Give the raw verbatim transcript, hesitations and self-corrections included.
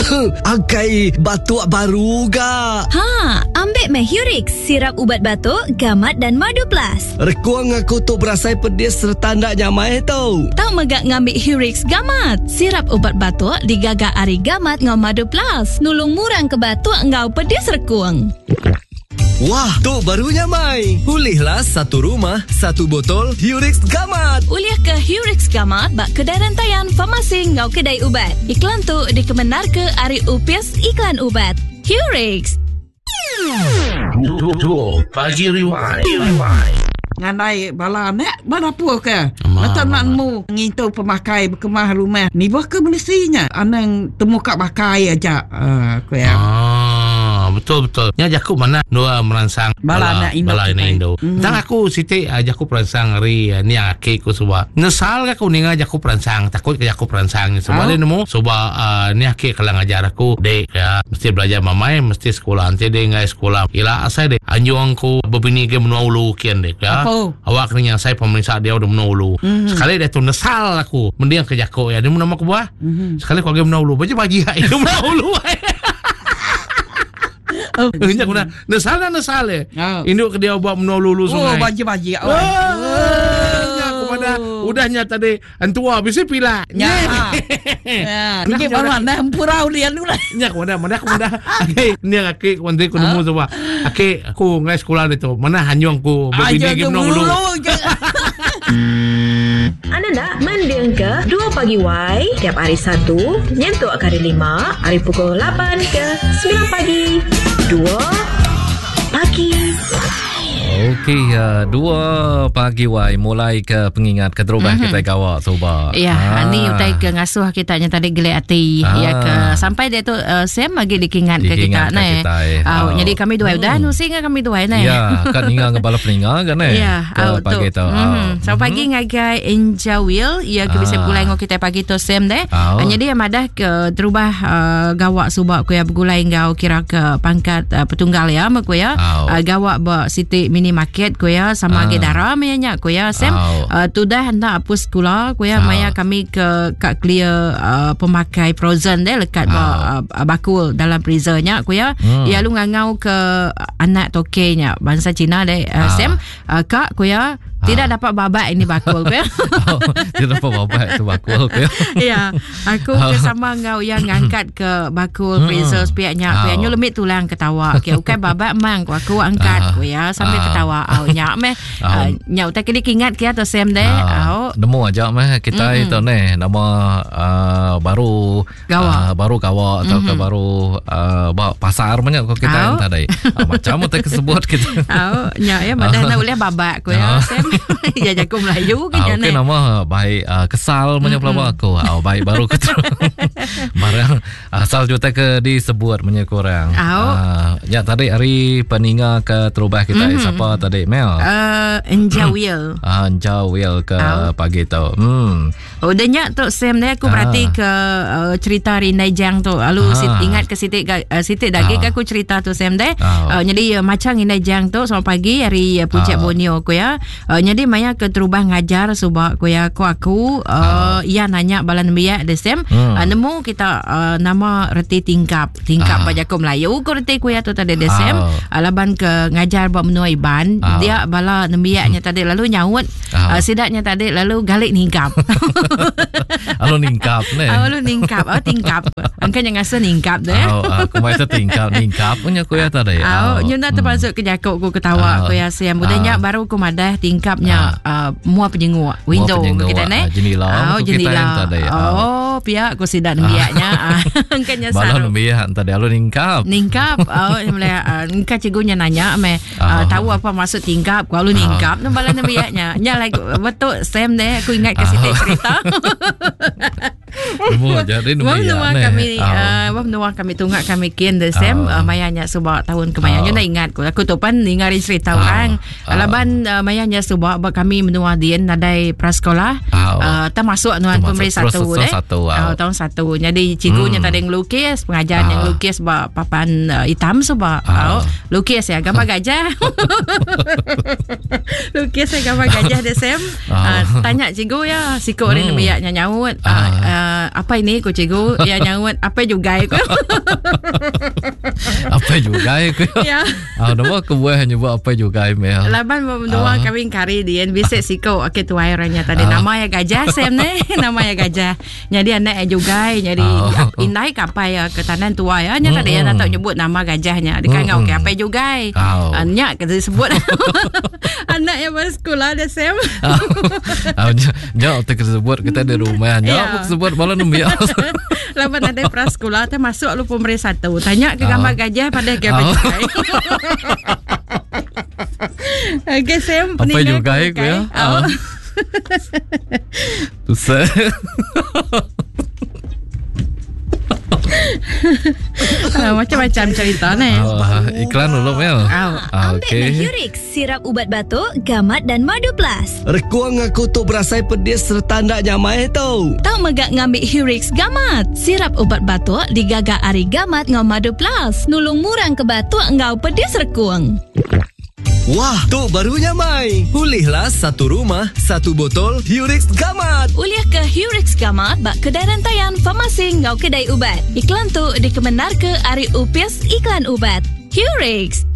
Akai batuk baru ga. Ha, ambil meh Hurix, sirap ubat batuk, gamat dan madu plus. Rekuang aku tu berasai pedis serta ndak nyamai tu. Tau megak ngambil Hurix gamat. Sirap ubat batuk digaga ari gamat ngau madu plus. Nulung murang ke batuk ngau pedis rekuang. Wah, tu baru nyamai. Ulihlah satu rumah, satu botol Hurix Gamat. Ulih ke Hurix Gamat bak kedai rantaian farmasi ngau kedai ubat. Iklan tu dikemenar ke ari Upis Iklan Ubat. Hurix. Dua pagi rewind. Rewind. Ngandai bala anak berdapur ke. Atau nak nemu ngintu pemakai berkemah rumah. Ni buah ke Malaysia anang temu kat bakai aja. Uh, aku ya. Ah, betul betul. Nya jaku mana dua merangsang bala anak Indo. Bala anak Indo. Mm. Tang aku siti uh, jaku perangsang hari uh, ni aki ku suba. Nesal aku ninga jaku perangsang, takut ke jaku perangsang. Sebab Oh. dia nemu suba uh, ni aki kalau ngajar aku dek ya mesti belajar mamai, mesti sekolah. Nanti dia ngai sekolah. Ila asai dek anjung ku berbini ke menua ulu kian dek ya. Apa? Awak kena yang saya pemeriksa dia udah menua ulu. Mm-hmm. Sekali dia tu nesal aku mendiang ke jako ya. Dia nama aku buah. Mm-hmm. Sekali aku menua ulu, baca pagi hai menua ulu. Oh. Nya aku dah nesal dah nesal eh. Oh. Induk ke dia buat menua ulu Oh, sungai. baji-baji. Oh. Nya aku pada udahnya tadi entua bisa pila. Ya. Ya, ni baru anda empurau dia lu lah. Nya aku dah mana aku dah. Okey, ni aki ku nanti ku nemu sebab. Aki aku ngai sekolah dia tu. Mana hanyung ku berbini ke menua ulu. Anda nak mending ke dua pagi Y tiap hari Satu, nyentuk hari Lima, hari pukul lapan ke sembilan pagi. Dua pagi. Okey, uh, dua pagi wai mulai ke pengingat keterubah mm-hmm. kita gawak soba. Ya, Ah. ni utai ke ngasuh kita nya tadi gelek hati Ah. ya ke sampai dia tu uh, Sam lagi dikingat ke Dikingat kita ke ne. kita, eh. Ah, Ah. jadi kami dua udah nusi dengan kami dua ne. Ya, kan ninga ke bala peninga kan eh. Ya, ke au, pagi tu. Mm. Ah. Selamat pagi ngagai Enjawil ya ke bisa Ah. pulai ngau kita pagi tu Sam deh. Au. Uh, jadi yang madah ke terubah uh, gawak subak ku ya bergulai ngau kira ke pangkat uh, petunggal ya mak ku ya. Au. Uh, gawak ba siti mini market ku ya sama Ah. ge dara maya nya ku ya Sam. Au. Uh, tudah hendak hapus sekolah ku ya Au. maya kami ke kat clear uh, pemakai frozen deh lekat ba uh, bakul dalam freezer nya ku ya. Hmm. Ya lu ngangau ke anak toke nya bangsa Cina deh uh, Ah. Sam uh, kak ku ya tidak dapat babak ini bakul ku ya. Oh, Tidak dapat babak tu bakul ke. Ya, aku ke sama ngau yang ngangkat ke bakul freezer sepiaknya. Aku Ah. yang lemit tulang ketawa. Okey, ukai babak mang ku aku angkat ku ya sambil Ah. ketawa. Au nyak meh. Ah. Uh, nyak utai kini kingat kia tu Sam deh. Ah, Au. nemu aja meh kita mm-hmm. itu ni nama uh, baru Gawak. uh, baru gawak atau mm-hmm. ke baru uh, bawa pasar banyak ko kita Au. uh. tadi. Uh, macam utai kesebut kita. Au nyak ya madah nak boleh babak ku ya Sam. Ya jago Melayu ke Ah, nya okey ne. nama baik uh, kesal banyak mm-hmm. aku. Ah baik baru ke barang asal juta ke disebut banyak kurang. Au. Ah, ya tadi hari peninga ke terubah kita mm-hmm. siapa tadi Mel? Uh, Enjawil. Ah, Jawil ke Au. pagi tu. Hmm. Oh, dia nyak tu Sam ni aku Ah. berarti ke uh, cerita Rindai Jang tu. Lalu Ah. sit, ingat ke sitik uh, sitik daging Ah. aku cerita tu Sam deh. Ah. Uh, jadi uh, macam Rindai Jang tu selamat pagi hari uh, Puncak Ah. Borneo aku ya. Uh, jadi maya ke terubah ngajar subak aku ya aku aku uh, ia nanya bala nembiak deh Sam. Hmm. Uh, nemu kita uh, nama reti tingkap. Tingkap Ah. ah. baca Melayu ku reti ku ya tu tadi deh Sam. Ah. Uh, laban ke ngajar buat menua Iban Ah. dia bala nembiaknya tadi lalu nyaut Ah. uh, sidaknya tadi lalu galik ningkap. Lalu ningkap ni. Ah, lalu ningkap, oh tingkap. Angka yang rasa ningkap tu eh. Oh, aku mai tertingkap ningkap punya ku ya tadi. Oh, nyu nak termasuk ke jakuk ku ketawa Ah. ku ya siam. Budanya Ah. baru ku madah tingkapnya ah, mua penyenguk window penyenguk, kita ne. ah, jendela Oh, ku kita jendela. yang tadi. Ah. Oh, pihak ku sidak nembiaknya. Ah, Angkanya Bala saru. nembiak tadi lalu ningkap. Ningkap oh mulai uh, engkau cikgunya nanya me Ah. uh, tahu apa maksud tingkap ku lalu ningkap uh. bala nembiaknya nya lagi betul Sam deh aku ingat ke situ Ah. cerita Nemu jadi Wah nembiak menua ni. kami Ah. uh, wah menua kami tungak kami kian the same Ah. uh, mayanya subak tahun kemayanya Ah. nak ingat ku aku tu pan ningari cerita Ah. orang Ah. laban uh, mayanya subak bak kami menua dien nadai prasekolah Ah. uh, termasuk nuan Termasuk pemberi terus satu tahun deh satu, ah. uh, tahun satu jadi cikgunya Hmm. tadi ngelukis pengajarnya Ah. ngelukis bak papan uh, hitam subak Ah. uh. lukis ya gambar gajah lukis ya gambar gajah the same Ah. uh, tanya cikgu ya sikok hmm. Hmm. ni biaknya nyaut Ah. uh, uh, Uh, apa ini ku cikgu? Ya nyaut apa juga ku. Apa juga ku. Ya. Ah, nama kebuah nyebut apa juga mel. Laban dua uh. kawin kari dia bisik siko okey tuai orangnya tadi uh. nama ya gajah Sam ne nama ya gajah. Jadi anak juga jadi uh. indai kapai ya ke tanan tuai ya nya tadi ya tak nyebut nama gajahnya. Dia kan mm. okey apa juga. Oh. Anak kata sebut. Anak yang bersekolah dia Sam. Ah, jauh tak sebut kita di rumah. Jauh sebut bala nembiak. Laban ada prasekolah tu masuk lu pemeri satu. Tanya ke gambar gajah pada ke apa juga. Okey Sam, apa juga ya? Oh. Susah. Uh, macam-macam cerita ni. Oh, iklan dulu Mel. Oh. Ah, Ambil okey. Hurix, sirap ubat batuk, gamat dan madu plus. Rekuang aku tu berasai pedis serta ndak nyamai tau. Tau megak ngambil Hurix Gamat. Sirap ubat batuk digagak ari gamat ngau madu plus. Nulung murang ke batuk ngau pedis rekuang. Wah, tu baru nyamai. Pulihlah satu rumah, satu botol Hurix Gamat. Uliah ke Hurix Gamat bak kedai rantaian farmasi ngau Kedai ubat. Iklan tu dikemenar ke ari upis Iklan ubat. Hurix.